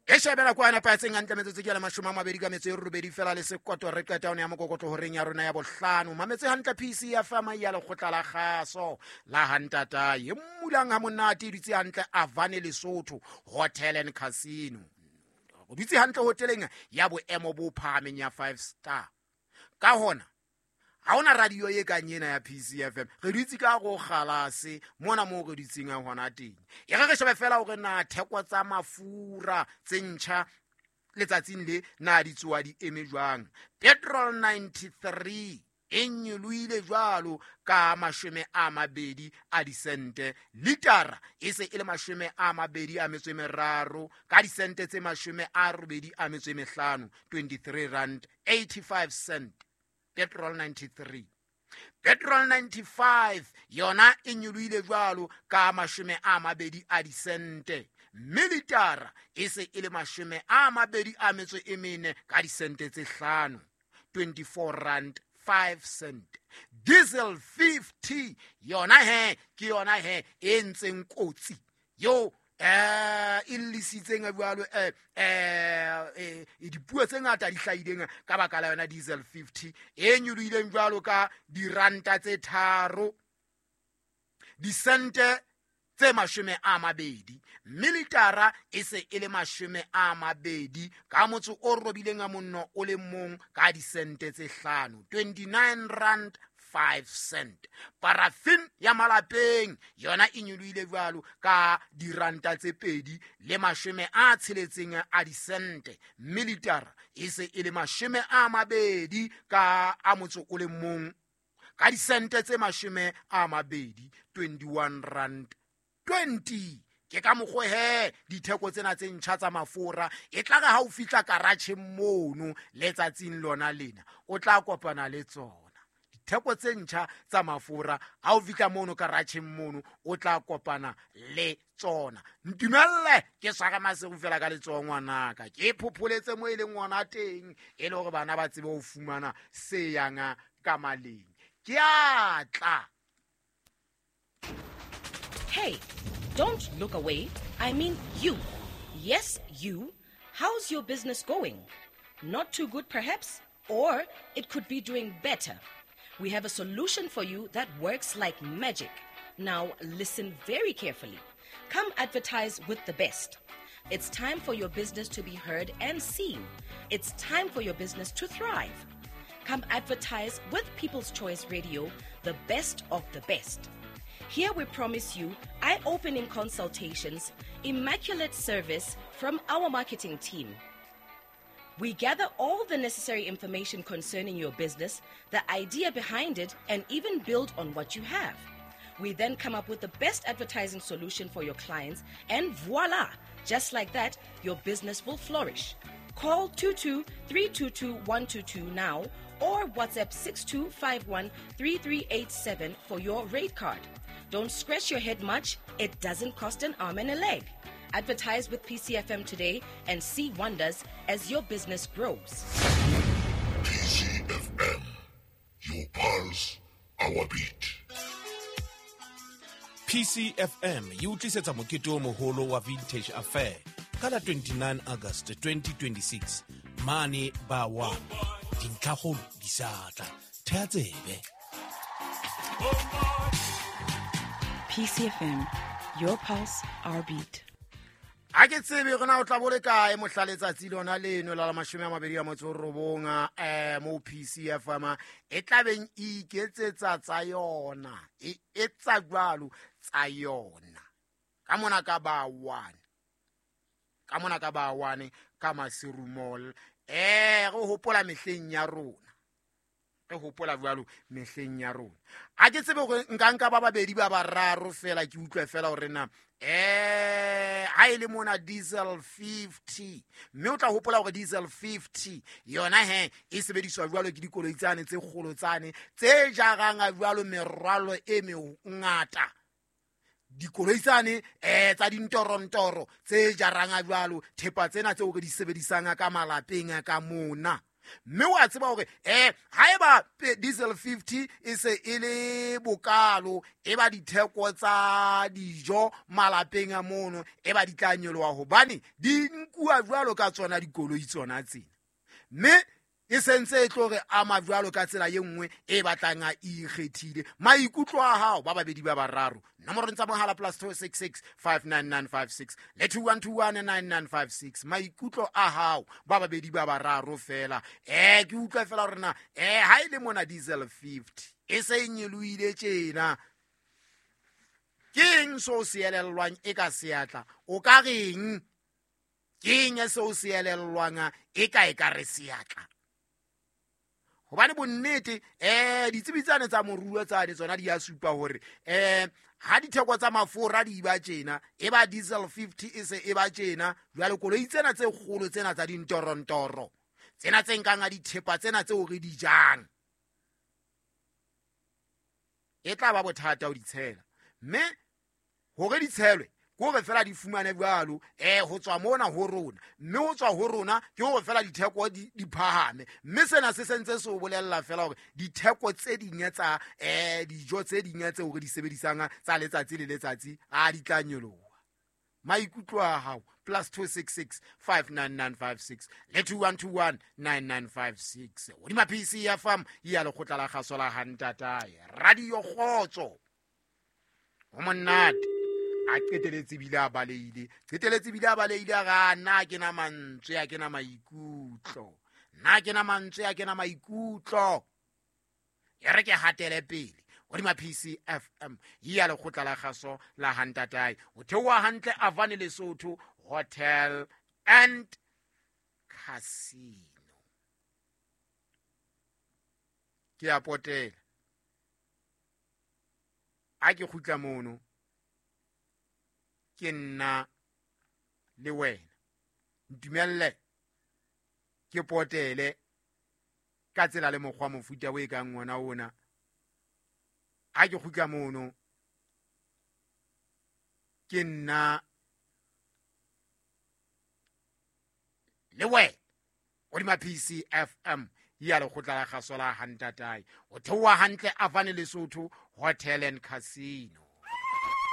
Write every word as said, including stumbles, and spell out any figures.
E shebela kwana patseng hantle metsotso ke ya mashome a mabedi ka metso e robedi fela le sekoto re qeta one ya mokokotlo horeng ya rona ya bohlano. Mametse hantle P C F M ya lekgotla la kgaso la hantata e mmulang ha monate e dutse hantle Avane Lesotho Hotel and Casino. O dutse hantle hoteleng ya boemo bo phahameng ya five star. Ka hona ha ona radio e kang ena ya P C F M re dutse ka go kgalase mona mo re dutseng a hona teng. E re re shebe fela hore na theko tsa mafura tse ntjha letsatsing le na di tsoa di eme jwang. Petrol ninety-three e nyolohile jwalo ka mashome a mabedi a disente, litara e se e le mashome a mabedi a metso e meraro ka disente tse mashome a robedi a metso e mehlano, twenty-three rand eighty-five cent. Petrol ninety-three. Petrol ninety-five yona e nyolohile jwalo ka mashome a mabedi a disente, mme litara e se e le mashome a mabedi a metso e mene ka disente tse hlano, twenty-four rand five cent. Diesel fifty yona he ke yona he e ntseng kotsi yo eh e lisitseng jwalo eh eh dipuo tse ngata di hlahileng ka baka la yona diesel fifty e nyolohileng jwalo ka diranta tse tharo disente tse mashome a mabedi, mme litara e se e le mashome a mabedi ka motso o robileng a monno o le mong ka disente tse hlano, twenty-nine rand five cent. Paraffin ya malapeng yona e nyolohile jwalo ka diranta tse pedi le mashome a tsheletseng a disente, mme litara e se e le mashome a mabedi ka a motso o le mong ka disente tse mashome a mabedi, twenty-one rand twenty. Ke ka mokgwa he ditheko tsena tse ntjha tsa mafura e tla re ha o fihla karatjheng mono letsatsing lona lena o tla kopana le tsona. Ditheko tse ntjha tsa mafura ha o fihla mono karatjheng mono o tla kopana le tsona. Ntumelle ke swara maseru fela ka letsoho ngwanaka, ke phopholetse mo e leng ngwana teng e le hore bana ba tsebe ho fumana se yang ka maleng. Ke a tla. Hey, don't look away. I mean you. Yes, you. How's your business going? Not too good, perhaps? Or it could be doing better. We have a solution for you that works like magic. Now, listen very carefully. Come advertise with the best. It's time for your business to be heard and seen. It's time for your business to thrive. Come advertise with People's Choice Radio, the best of the best. Here we promise you eye-opening consultations, immaculate service from our marketing team. We gather all the necessary information concerning your business, the idea behind it, and even build on what you have. We then come up with the best advertising solution for your clients, and voila! Just like that, your business will flourish. Call two two three two two one two two now or WhatsApp six two five one three three eight seven for your rate card. Don't scratch your head much. It doesn't cost an arm and a leg. Advertise with P C F M today and see wonders as your business grows. P C F M, your pulse, our beat. P C F M e o tlisetsa mokete o moholo wa Vintage Affair ka la twenty-nine August twenty twenty-six mane ba one. Dintlhakgolo di sa tla. Thea tsebe. P C F M, your pulse, our beat. A ke tsebe rona o tla bo le kae mohla letsatsi lona leno la mashome a mabedi a motso robong eh mo P C F M e tlabeng e iketsetsa tsa yona e etsa jwalo tsa yona ka mona ka ba one ka mona ka ba one ka Maseru Mall. Eh re hopola mehleng ya rona, re hopola jwalo mehleng ya rona. A ke tsebe hore nka nka ba babedi ba bararo fela ke utlwe fela hore na eh ha ile mona diesel fifty, mme o tla hopola hore diesel fifty yona he e sebediswa jwalo ke dikoloi tsane tse kgolo tsane tse jarang jwalo merwalo e mengata. Dikoloi tsane eh tsa dintorontoro tse jarang jwalo thepa tsena tseo re di sebedisang ka malapeng ka mona. Mme wa tseba hore eh haeba diesel fifty e se e le bokalo, e ba ditheko tsa dijo malapeng a mono e ba di tla nyoloha, hobane di nkuwa jwalo ka tsona dikoloi tsona tsena. Mme e sentse e tlo re ama jwalo ka tsela ye nngwe e batlang a ikgethile. Maikutlo a hao ba babedi ba bararo, nomorong tsa mohala plus two six six five nine nine five six le two one two one nine nine five six. Maikutlo a hao ba babedi ba bararo fela. Eh ke utlwa fela hore na eh ha ile mona diesel fifty e se e nyolohile tjena, ke eng so se elellwang e ka seatla? O ka reng? Ke eng seo se elellwang e ka e ka re seatla? Hobane bonnete eh ditsebi tsane tsa moruo tsane tsona di a supa hore eh ha ditheko tsa mafura di ba tjena, e ba diesel fifty e se e ba tjena, jwale koloi tsena tse kgolo tsena tsa dintorontoro tsena tse nkang a dithepa tsena tseo re di jang, e tla ba bothata ho di tshela. Mme hore di tshelwe ke hore fela di fumane jwalo eh ho tswa mona ho rona, mme ho tswa ho rona ke hore fela ditheko di di phahame. Mme sena se sentse se o bolella fela hore ditheko tse ding tsa eh dijo tse ding tse hore di sebedisang tsa letsatsi le letsatsi a di tla nyoloha. Maikutlo a hao plus two six six five nine nine five six le two one two one nine nine five six. Hodima P C F M ya lekgotla la kgaso la Hantatae, Radio Kgotso. Ho monate. A qeteletse bile a baleile, qeteletse bile a baleile a ra nna ke na mantswe, a ke na maikutlo, nna ke na mantswe, a ke na maikutlo. E re ke hatele pele hodima P C F M ya lekgotla la kgaso la Hantatae. O theoha hantle Avane Lesotho Hotel and Casino. Ke a potela a ke kgutla mono, ke nna le wena. Ntumelle ke potele ka tsela le mokgwa mofuta o e kang ona ona. A ke kgutla mono, ke nna le wena hodima P C F M ya lekgotla la kgaso la Hantatae. O theoha hantle Avane Lesotho Hotel and Casino.